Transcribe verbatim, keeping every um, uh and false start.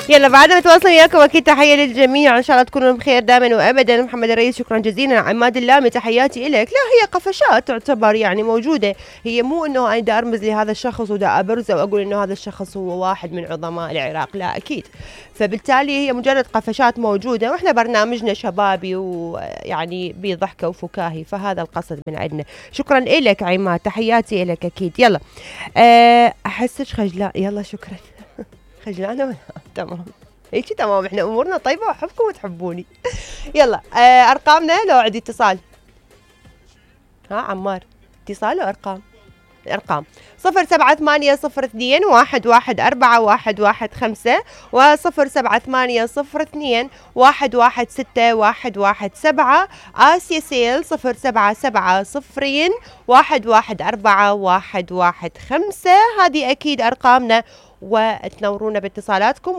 يلا بعد ما نتواصل وياكم اكيد تحيه للجميع ان شاء الله تكونوا بخير دائما وابدا. محمد الرئيس شكرا جزيلا. عماد اللامي تحياتي لك. لا هي قفشات تعتبر يعني موجوده، هي مو انه انا دا ارمز لهذا الشخص ودا ابرزه واقول انه هذا الشخص هو واحد من عظماء العراق، لا اكيد. فبالتالي هي مجرد قفشات موجوده، واحنا برنامجنا شبابي ويعني بضحكه وفكاهي، فهذا القصد من عندنا. شكرا لك عماد تحياتي لك اكيد. يلا احسك خجلان. يلا شكرا. خجلانه ولا تمام هيك تمام، احنا امورنا طيبه واحبكم وتحبوني. يلا آه ارقامنا لو عندي اتصال. ها عمار اتصال وارقام. الارقام صفر سبعة ثمانية صفر اثنين واحد واحد أربعة واحد واحد خمسة وصفر سبعة ثمانية صفر اثنين واحد واحد ستة واحد واحد سبعة. آسيا سيل صفر سبعة سبعة صفرين واحد واحد أربعة واحد واحد خمسة. هذه أكيد أرقامنا وتنورونا باتصالاتكم.